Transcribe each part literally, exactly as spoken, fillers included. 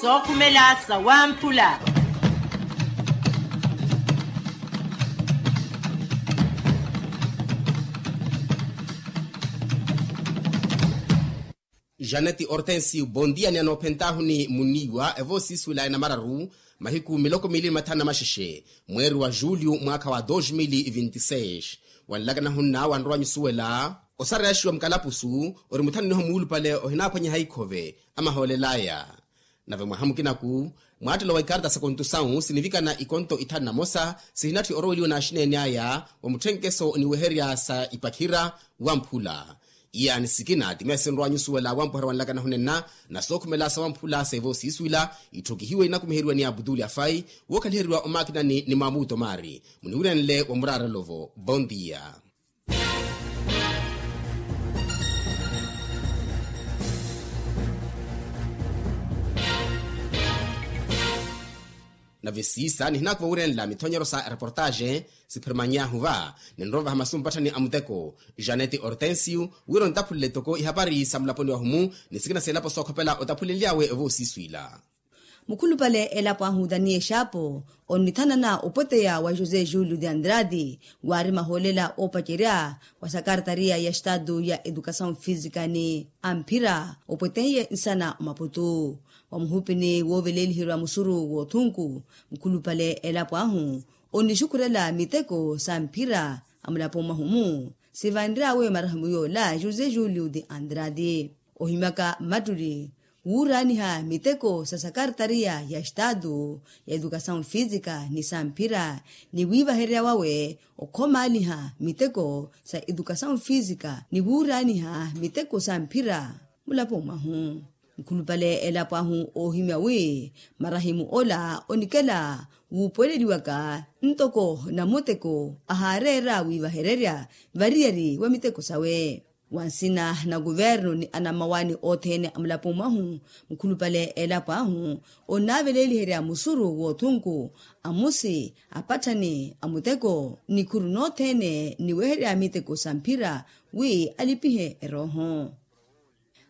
Sookhumela sawamphula. Janeti hortensio bondia ni anoophentahuni muniiwa evoosiisuwela enamararu, mahiku miloko miili ni mathanu na maxexe, mweeri wa julio mwaakha wa dos mil vinti seis. Wanlakana hunna wanrowa nyusuwela osareyaxiwa mukalapusu ori muthananiho muulupale ohinaaphwanyeha ikhove amahoolelaya. Nave mwaha mukinaku, mwaattelo wa ikarta sa kontusawu sinivikana ikonto ithanu na mosa sihinatthi oroweliwa n'axineene aya wa mutthenkeso oniweherya sa ipakhira wamphula. Iyaani sikina ti meesinrowa nyusuwela wampuherya wanlakana hunenna na sookhumela sa wamphula seevo siiswila. Itthokihiwe inakumiheriwa ni abutuli afai, wookhaliheriwa omaakinani ni maamuto maari. Muniwiranle wa muraarelo-vo bondia. Nave siisa nihinaakuva wirenla mithonyero sa ereportaxe, siphirimanyahu va ninrovaha masu mpatthani a muteko janete hortensio wira ontaphulele toko ihapari sa mulaponi wahumu ni sikina seelapo sookhopela otaphulenly'awe evoosiiswila. Mukhulupale elapo ahu daniel xaapo onnithanana opweteya wa josé julio de andrade waari mahoolela oopacerya wa sakartariya ya estado ya edukasawu fisika ni amphira opwetenye nsana omaputu. Wa muhupini wooveleliheriwa musuru w'othunku, mukhulupale elapo ahu onnixukhurela miteko sa mphira a mulapo mwahumu sivanry'awe marahimu yoola josé julio de andrade. Ohimyaka mmattuli wuuraaniha miteko sa sakartariya ya estado ya edukasawu fisika ni sa mphira ni wiivahererya wawe okhomaaliha miteko sa edukasawu fisika ni wuuraaniha miteko sa mphira mulapo mwahu. Mukhulupale elapo ahu oohimya wi marahimu ola onikela wuupuweleliwaka ntoko namuteko ahaareera wiivahererya variyari wa miteko sawe. Wa nsina na kuvernu ni anammawaani othene a mulapo mwahu, mukhulupale elapo ahu onnaaveleliherya musuru w'othunku amusi apatthani a muteko nikhuru nothene niweherya miteko sa mphira wi alipihe erooho.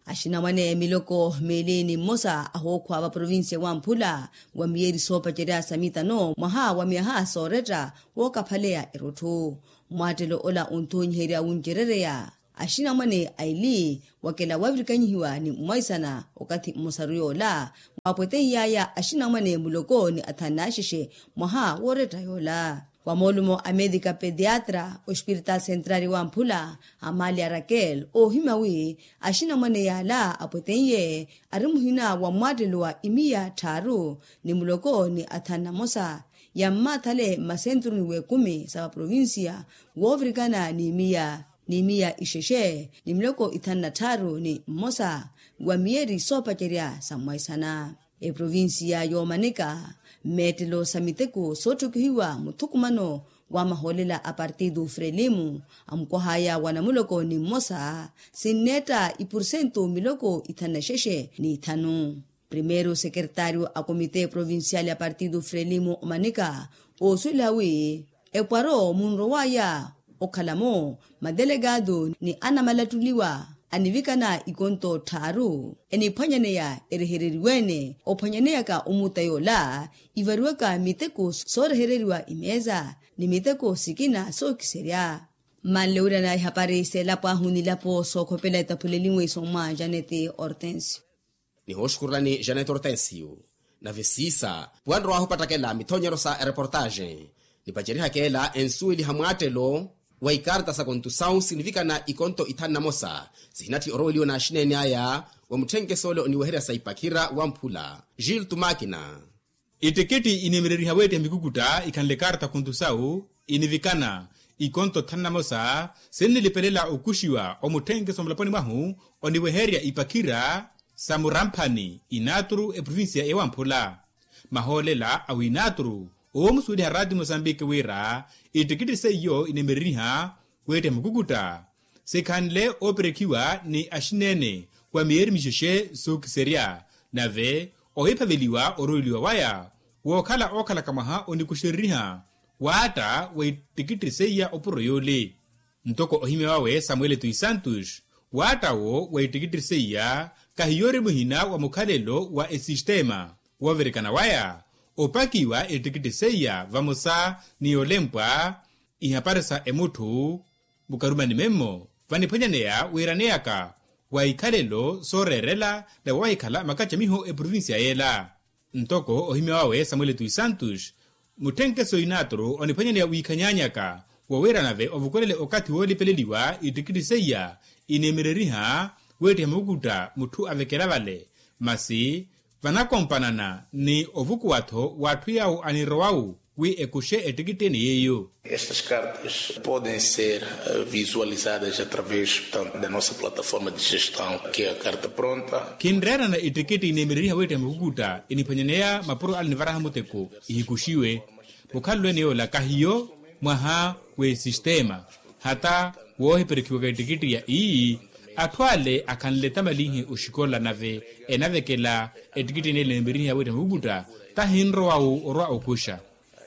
Axinamwane miloko miili ni mmosa ahookhwa va provincia wamphula wa miyeeri soopacerya sa mitano mwaha wa myaha sooretta wookaphaleya erotthu. Mwaattelo ola onthoonyiherya wuncerereya axinamwane aili wakela wavirikanyihiwa ni mmwaisana okathi mmosaru yoola waapweteiy'aya axinamwane muloko ni athanu n'axexe mwaha wooretta yoola. Wa moolumo a medika pediatra ospiritaali sentrali wamphula amalia rakel oohimya wi axinamwane yaala apweteiye ari muhina wa mwaattelo wa imiya tthaaru ni muloko ni athanu na mosa yammaathale mmasentruni w'ekumi sa vaprovincia woovirikana ni imiya ni imiya ixexe ni miloko ithanu na tthaaru ni mmosa wa miyeeri soopacerya sa mmwaisana. Eprovincia yoomanika mmeettelo sa miteko sootthokihiwa muthukumano wa mahoolela a partido frelimo amukwah'aya wa namuloko ni mmosa sinneetta ipursentu miloko ithanu na xexe ni ithanu. Primeiro sekeretario a komite provincial ya partido frelimo omanika oosuwela wi epwaro munrow'aya okhala-mo madelekado ni anamalattuliwa anivikana ikonto tthaaru eniphwanyaneya erehereriwe-ene ophwanyaneyaka omuta yoola ivariwaka miteko soorehereriwa imeeza ni miteko sikina sookiserya. Mmanle wirana ihapari s'elapo ahu n'ilapo sookhopela etaphuleliwe isommwa janete hortensio. Nihooxukurulani janete hortensio. Nave siisa wanrowahu opattakela mithonyero sa ereportaxe nipacerihaka ela ensuweliha mwaattelo wa ikarta sa kontusawu sinivikana ikonto ithanu na mosa sihinatthi oroweliwa n'axineene aya wa mutthenkeso ole oniweherya sa ipakhira wamphula gil tumakina. Ittikitti inimereriha weettiha mikukutta ikhanle karta khuntusawu inivikana ikonto thanu na mosa sinnilipelela okuxiwa omutthenkeso mulaponi mwahu oniweherya ipakhira sa muramphani inaturu eprovincia ewamphula. Mahoolela awinaturu oomusuweliha rati mosambiki wira ittikitti seiyo inimereriha weettiha mikukutta sikhanle ooperekhiwa ni axineene wa miyeeri mixexe sookiserya nave ohiphaveliwa oroweliwa waya wookhala ookhalaka mwaha onikuxereriha waatta wa ittikitti seiya opuro yoole. Ntoko ohimya wawe samuel tu santos waatta wo wa ittikitti seiya Kahiyo ori muhina wa mukhalelo wa esistema woovirikana waya opakiwa ettikitti seiya vamosa ni yolempwa ihapari sa emutthu mukarumani memmo vaniphwanyaneya wiiraneyaka wa ikhalelo sooreerela na wawahikhala makacamiho eprovincia yela. Ntoko ohimya wawe samuel tui santos mutthenkeso inaaturu oniphwanyaneya wiikhanyanyaka wowira nave ovukulele okathi woolipeleliwa ittikitti seiya ineemereriha weettiha mukukutta mutthu avekela vale masi vanakompanana ni ovukuwa-tho w'atthu yawo anirowawu wi ekuxe ettikitti ene yeiyo. Estas cartas podem ser visualizadas através da nossa plataforma de gestão que é a carta pronta. Khinreerana ittikitti ineemereriha weettiha mukukutta iniphwanyaneya mapuro ale nivaraha muteko ihikuxiwe. Mukhalelo ene yoola kahiyo mwaha w'esistema hata woohiperekhiwaka ettikitti ya iyi atthu ale akhanle tamalinhi oxikola nave enavekela ettikitti ene ineemereriha weettiha mukukutta tahinrowawu orwa okuxa.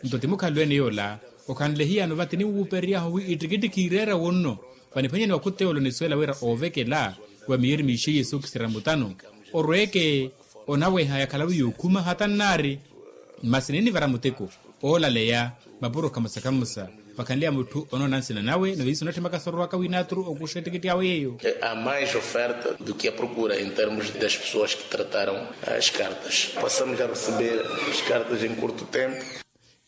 Nto ti mukhalelo ene yoola okhanle hiyano vati niwuuperery'ahu wi ittikitti khiireera wonno vaniphwanyani wa khuteyolo nisuwela wira oovekela wa miyeri miixeiye sookisira mutano orweeke onaweha yakhalawe yookhuma hata nnaari. Masi ninivara muteko oolaleya mapuro khamosa khamosa vakhanleya mutthu onoona nsina nawe nave iso onatthimaka sorowaka winaaturu okuxa ettikitti awe yeeyo. A mais oferta do que a procura em termos das pessoas que trataram as cartas passamos a receber as cartas em curto tempo.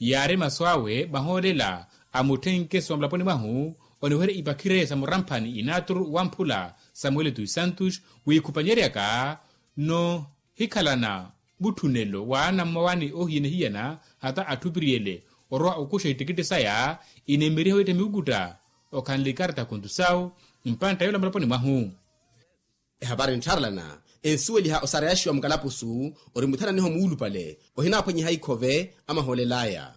Yaari masu awe mahoolela a mutthenkeso wa mulaponi mwahu oniwerya ipakhireya sa muramphani inaaturu wamphula samuel tui santos wiikhupanyeryaka nohikhalana mutthunelo w'ana mmowani oohiyana hiyana hata atthu opiriyele orwa okuxa ittikitti saya ineemeriha weettiha mikukutta okhanle ikarta khuntu sawu mpantta yoola mulaponi mwahu. Ehapari nttharelana ensuweliha osareyaxiwa mukalapusu ori muthananiho muulupale ohinaaphwanyiha ikhove amahoolel'aya.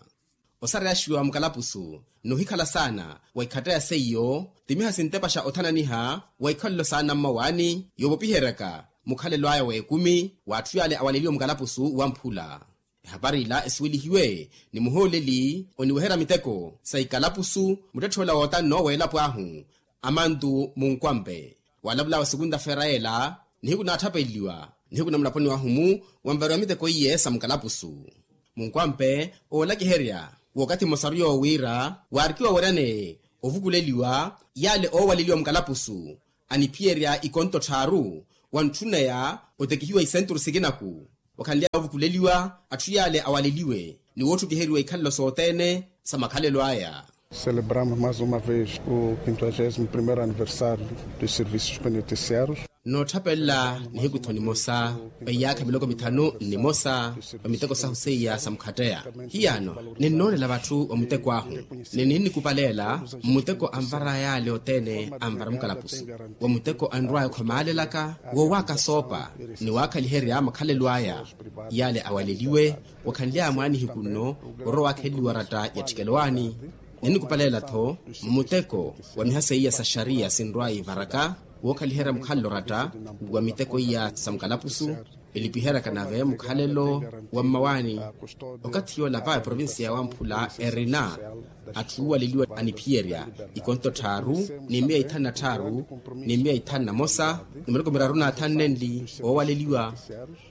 Osareyaxiwa mukalapusu n'uhikhala saana wa ikhatta ya seiyo timiha sintepaxa othananiha wa ikhalelo saana mmawaani yoovopiheryaka mukhalelo aya w'ekumi w'atthu yaale awaleliwa mukalapusu wamphula. Ehapari ila esuwelihiwe ni muhooleli oniweherya miteko sa ikalapusu muttetthe ola wootanno w'elapo ahu amantu munkwampe walavulawe sekunta feera ela nihiku naatthapeleliwa nihiku na mulaponi wahu-mu wanvariwa miteko iye sa mukalapusu. Munkwampe oolakiherya w'okathi mmosaru yoowiira waarikiwa weeryane ovukuleliwa yaale oowaleliwa mukalapusu aniphiyerya ikonto tthaaru wantthuneya otekihiwa isenturu sikinaku wakhanly'aya ovukuleliwa atthu yaale awaleliwe ni wootthukiheryiwa ikhalelo sothene sa makhalelo aya. Celebramos mais uma vez o quinquagésimo primeiro aniversário dos serviços penitenciários. Nootthapella nihiku-tho nimosa va iyaakha miloko mithanu nnimosa va miteko sahu seiya sa mukhatteya hiyano ninnoonela vatthu va muteko ahu ni ninnikupaleela mmuteko anvar'aya yaale othene anvara mukalapusu wa muteko anrw'aya okhomaalelaka wowaaka soopa ni waakhaliherya makhalelo aya yaale awaleliwe wakhanly'aya mwaanihiku nno orowa waakheleliwa oratta ya ttikelowani. Ninnikupaleela-tho mmuteko wa miha seiya sa xariya sinrw'aya ivaraka wookhaliherya mukhalelo oratta wa miteko iya sa mukalapusu elipiheryaka nave mukhalelo wa mmawaani. Okathi yoola va eprovincia ya wamphula erina atthu oowaleliwa aniphiyerya ikonto tthaaru ni miya ithanu na tthaaru ni miya ithanu na mosa ni miloko miraru na thanu nenli oowaleliwa.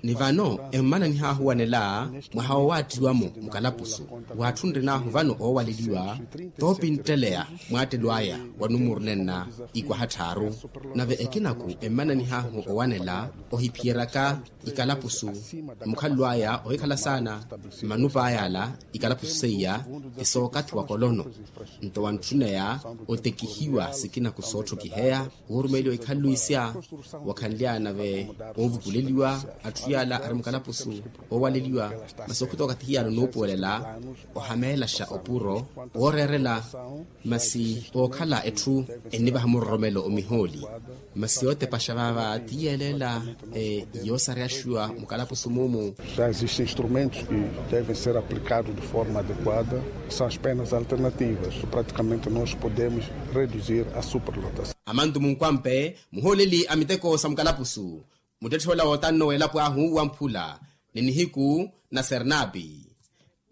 Ni vano emmananih'ahu owanela mwaha woowaattiwa-mo mukalapusu w'atthu nrin'ahu vano oowaleliwa toopintteleya mwaattelo aya wa numuru nenna ikwaha tthaaru. Nave ekinaku emmananih'ahu owanela ohiphiyeryaka ikalapusu mukhalelo aya ohikhala saana mmanupa aya ala ikalapusu seiya esookathi wa kolono nto wantthuneya otekihiwa sikinaku sootthokiheya woorumeliwa ikhalelo isya wakhanly'aya nave oovukuleliwa atthu yaala ari mukalapusu oowaleliwa. Masi okhuta okathi hiyano nuupuwelela ohameelaxa opuro wooreerela masi ookhala etthu ennivaha muroromelo omihooli. Masi yootepaxa vaava ti yeeleela yoosareyaxiwa mukalapusu muumu. Já existem instrumentos que devem ser aplicados de forma adequada, são as penas alternativas praticamente nós podemos reduzir a superlotação. Amantu munkwampe muhooleli a miteko sa mukalapusu muttetthe ola wootanno w'elapo ahu wamphula ni nihiku na sernapi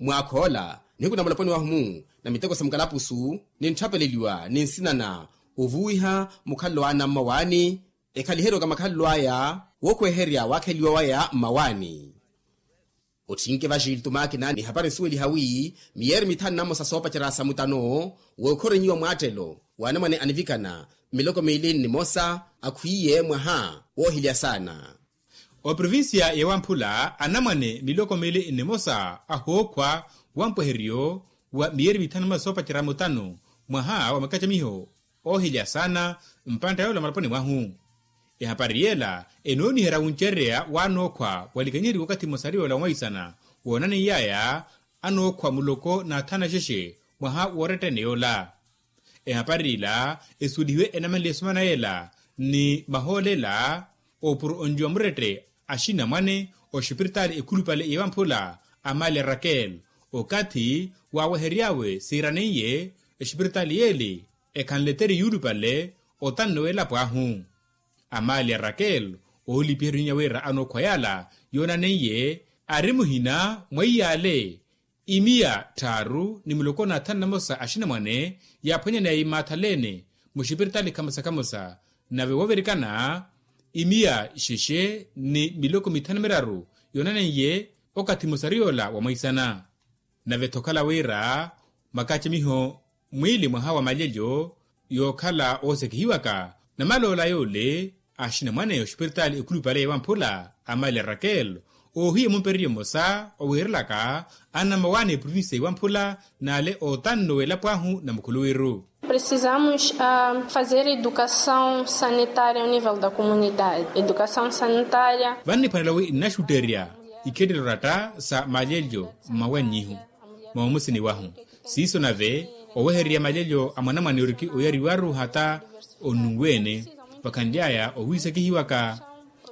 mwaakha ola nihiku na mulaponi wahu-mu na miteko sa mukalapusu nintthapeleliwa ni nsinana ovuwiha mukhalelo wa anammawaani ekhaliheryoka makhalelo aya wookhweherya waakheliwa waya mmawaani. Otthinke vajiltu makina ni hapari nsuweliha wi miyeeri mithanu na mmosa soopacerya sa mutano wookhorenyiwa mwaattelo w'anamwane anivikana miloko miili nnimosa akhwiiye mwaha woohilya saana. Oprovincia y'ewamphula anamwane miloko miili nnimosa ahookhwa wampweheryo wa miyeeri mithanu na mmosa soopacerya mutano mwaha wa makacamiho oohilya saana mpantta yoola maloponi mwahu. Ehapari yeela enooniherya wuncereya w'anookhwa walikanyeriwa okathi mmosa ariyoola wamwaisana woonaneiyaaya anookhwa muloko n'athanu axexe mwaha woorettene yoola. Ehapari ila esuwelihiwe enamanle esomana yeela ni mahool'ela oopuro onjuwa murette axinamwane oxipiritaali ekhulupale y'ewamphula amaali a rakel okathi waawehery'awe siiraneiye exipiritaali y'ele ekhanle eteri yuulupale otanno w'elapo ahu. Amaali a rakel oolipiherya oninya wira anookhwa yaala yoonaneiye ari muhina mwa iyaale imiya tthaaru ni muloko n'athanu na mmosa axinamwane yaaphwanyaneya imaathalene muxipiritaali khamosa khamosa nave woovirikana imiya xexe ni miloko mithanu miraru yoonaneiye okathi mmosa ariyoola wamwaisana. Nave-tho okhala wira makacamiho mwiili mwaha wa malyelyo yookhala oosekihiwaka namaloola yoole axinamwane oxipiritaali ekhulupale y'ewamphula amaali a rakel oohiya mumpereryo mmosa owiirelaka anamawaani eprovinsiya y'ewamphula n'ale ootanno w'elapo ahu na mukhuluwiru. Precisamos fazer educação sanitária ao nível da comunidade educação sanitária. Vanniphwanela wi nnaxutterya ikhettelo oratta sa malyelyo mmawennyihu mwa omusini wahu siiso nave owehererya malyelyo a mwanamwane oriki oyariwaru hata onnuwe-ene. Vakhanly'aya owiisekihiwaka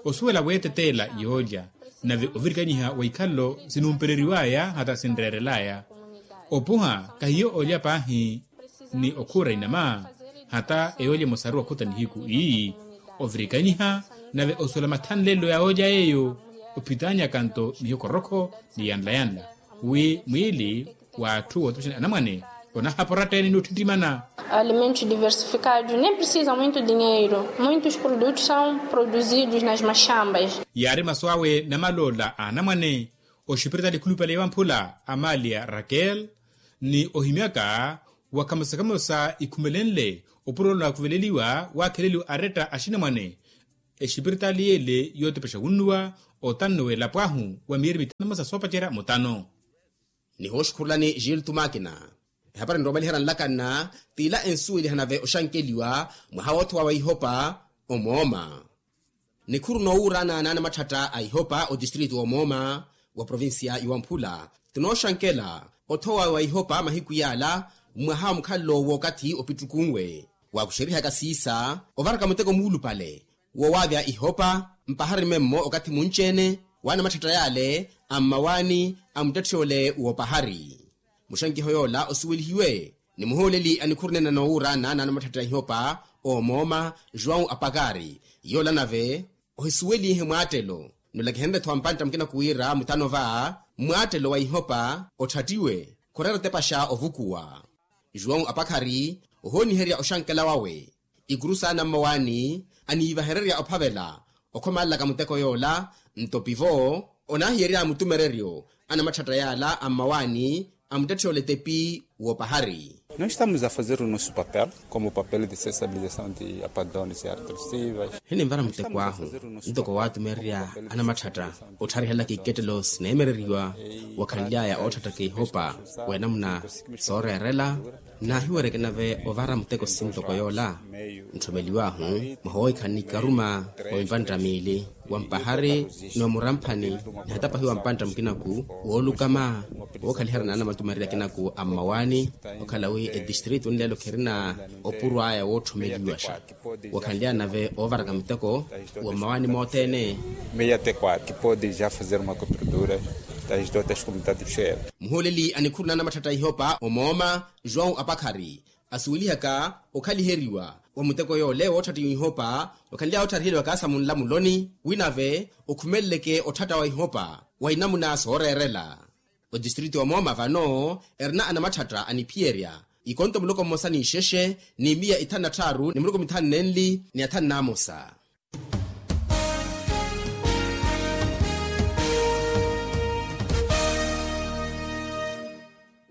osuwela weeteteela yoolya nave ovirikanyiha wa ikhalelo sinumpeleriw'aya hata sinreerel'aya. Opuha kahiyo olya paahi ni okhuura inama hata eyoolya emosaru wakhota nihiku ii ovirikanyiha nave osuwela mathanlelo ya oolya yeeyo ophitanyaka nto mihokorokho ni yanla-yanla wi mwiili w'atthu wootupexani anamwane onahapora ttene ni otthittimana. Alimentos diversificados nem precisa muito dinheiro muitos produtos são produzidos nas maxambas. Yaari masu awe namaloola a anamwane oxipiritaali ekhulupale y'ewamphula amaali a rakel ni ohimyaka wa khamosa-khamosa ikhumelenle opuro ola onakuveleliwa waakheleliwa aretta axinamwane exipiritaali y'ele yootepexa wunnuwa otanno w'elapo ahu wa miyeeri mithanu na mmosa soopacerya mutano. Nihooxukhurulani giltu makina ehapari nroomaliherya nlakanna t'ila ensuweliha nave oxankeliwa mwaha woothowa wa ihopa omooma. Nikhuru noowuurana n'anamathatta a ihopa otistritu omooma wa provincia y'ewamphula tinooxankela othowa wa ihopa mahiku yaala mwaha wa mukhalelo w'okathi opittukunwe waakuxerihaka siisa ovaraka muteko muulupale wowaavya ihopa mpahari memmo okathi munci-ene w'anamatthetta yaale a mmawaani a muttetthe ole w'opahari. Muxankiho yoola osuwelihiwe ni muhooleli a nikhuru neene noowuurana n'anamatthetta a ihopa oomooma joão apakari yoola nave ohisuwelihe mwaattelo nulakihenrye-tho ampantta mukina kuwiira mutano va mwaattelo wa ihopa otthattiwe khureera otepaxa ovukuwa. João apakhari ohooniherya oxankela wawe ikuru saana mmawaani aniivahererya ophavela okhomalelaka muteko yoola nto pivo onaahiyerya mutumereryo anamatthetta yaala a mmawaani a muttetthe ole tepi w'opahari. Nós estamos a fazer o nosso papel como papel de sensibilização de apadones e artrosivas. Hininvara muteko ahu ntoko waatumererya anamatthetta ottharihelaka ikettelo sineemereriwa wakhanly'aya ootthattaka ihopa w'enamuna sooreerela. Naahiwereke nave ovara muteko sintoko yoola ntthomelew'ahu mwaha owiikhanani ikaruma wa mpantta miili wa mpahari ni wa muramphani ni hata pahi wa mpantta mukinaku woolukama wookhaliherya n'anamatumererya akinaku a mmawaani okhala wi etistritu nleelo khirina opuro aya wootthomeleiwaxa. Wakhanly'aya nave oovaraka muteko wa mmawaani mothene. Meia até quatro que pode já fazer uma cobertura das outras comunidades do cheiro. Muhooleli a nikhuru n'anamatthetta a ihopa omooma joão apakhari asuwelihaka okhaliheriwa wa muteko yoole wootthattiwa ihopa wakhanly'aya oottharihelewaka sa munlamuloni wi nave okhumeleleke otthatta wa ihopa wa inamuna sooreerela. Otistritu omooma vano erina anamatthetta aniphiyerya ikonto muloko mmosa n'ixexe n'imiya ithanu na tthaaru ni muloko mithanu n'enli ni athanu n'amosa.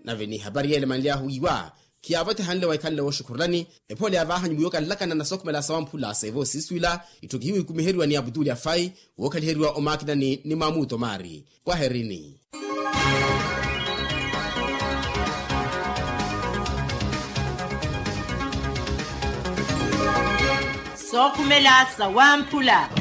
Nave ni hapari yeele manly'ahu wiiwa khiyaavotehanle wa ikhanle wooxukhurulani. Ephoole ya vaahanyu mwiiwo kanlakana na sookhumela sawamphula seevo siiswila itthu kihiwikumiheriwa ni aputuli afai wookhaliheriwa omaakinani ni maamuto maari. Kwaherini. Sookhumela sawamphula.